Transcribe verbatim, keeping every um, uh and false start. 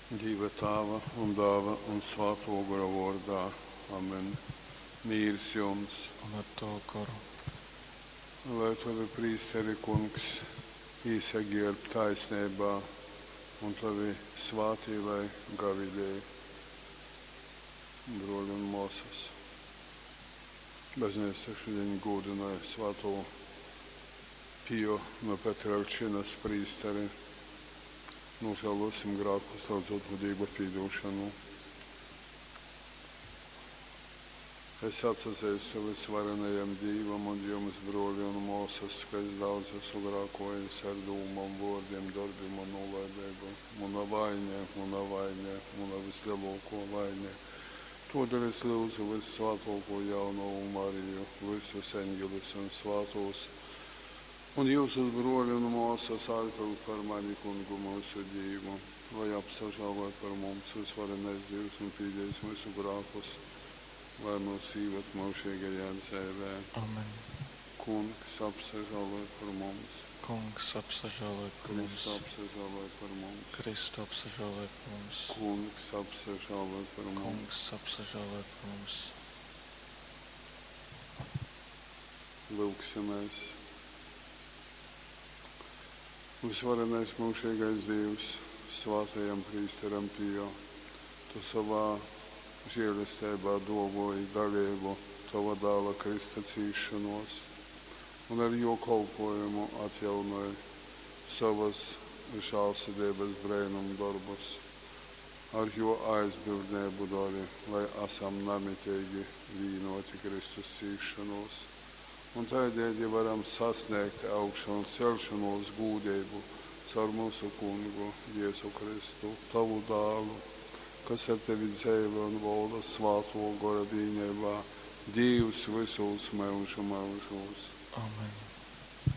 Dīva Tāva un Dāla un Svātō Gora vōrdā. Amen. Mīrs jums! Un ar tavu goru. Lai tovi prīsteri, Kungs, īsagērb taisneibā, un tovi svātī lai gavilej. Brōli un mōsas, bazneica šudiņ gūdynoj svātū Pio no Petrelčinas prīsteri. Nožēlosim grēkus, lyudzot nu Dīva pīdūšanu. Es atsazeistu vysvarenajam Dīvam un jums, brōli un mōsas, ka es daudz esmu grākōjis ar dūmom, vōrdim, dorbim un nūlaideibu. Muna vaine, muna vaine, muna vyslelōkō vaine. Tōdēļ es lyudzu vyssvātōkū jaunovu Mariju, vysus eņgeļus un svātūs, un jyusus, brōli un mōsas, aizlyugt par mani Kungu myusu Dīvu, lai apsažāloj par mums vysvarenais Dīvs un pīdējis myusu grākus, lai myus īvad myužīgajā dzeivē. Amen. Kungs, apsažāloj par mums. Kungs, apsažāloj par mums. Kristu, apsažāloj par mums. Kristu, apsažāloj par mums. Kungs, apsažāloj par mums. Kungs, apsažāloj par mums. Lūgsimies. Vysvarenais mūžīgais Dievs, svātajam prīsteram Pio, tu savā žēlesteibā duovuoji daleibu tova dāla Krista cīsšonuos un ar juo kolpuojumu atjaunoj sovys žālsirdeibys breinumdorbus. Ar juo aizbildneibu dori, lai asam namiteigi vīnuoti Kristus cīsšonuos un taideidi varam sasnēgt augšanceļšonuos gūdeibu caur myusu Kungu Jezu Kristu, tavu dālu, kas ar tevi dzeivoj un volda Svātuo Gora vīneibā, Dīvs vysūs myužu myužūs. Amen.